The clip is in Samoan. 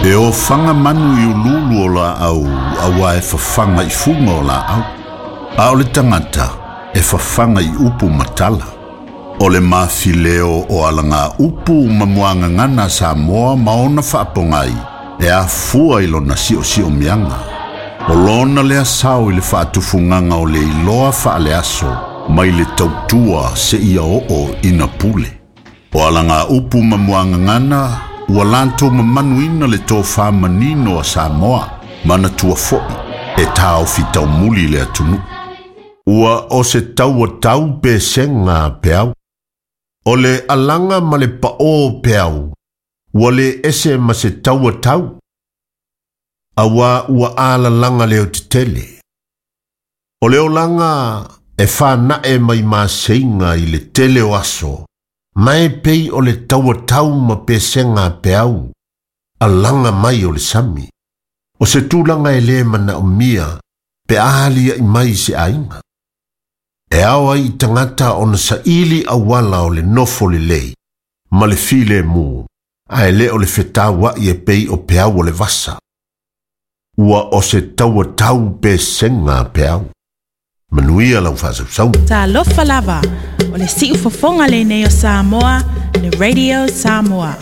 E ofaga manu i uluulu o laau auā e fafaga i fuga o laau. A o le tagata e fafaga i upu ma tala. O le mafileo o alaga upu ma muagagana a Samoa ma ona faapogai e afua i lona siosiomiaga. O lona lea sao i le faatufugaga o le iloa faaleaso mai le tautua seia oo ina pule. O alaga upu ma muagagana ua latou mamanuina le tofa manino a Samoa, manatua foi e taofi taumuli le atunuu. Ua o se taua tau pesega a peau. O le alaga ma le paʻō o peau, ua le ese ma se taua tau, auā ua alalaga leotetele. O le olaga e fanae mai maseiga i le tele o aso, ma e pei o le taua tau ma pesega a peau, alaga mai o le sami. O se tulaga e lē manaomia pe a aliaʻi mai se aiga. E ao ai i tagata ona saili auala o le nofo lelei ma le filemu, ae lē o le fetauaʻi e pei o peau o le vasa. Ua o se taua tau pesega a peau. Manuia lau faasausauga. Talofa lava, o le siufofoga lenei o Samoa, le Radio Samoa.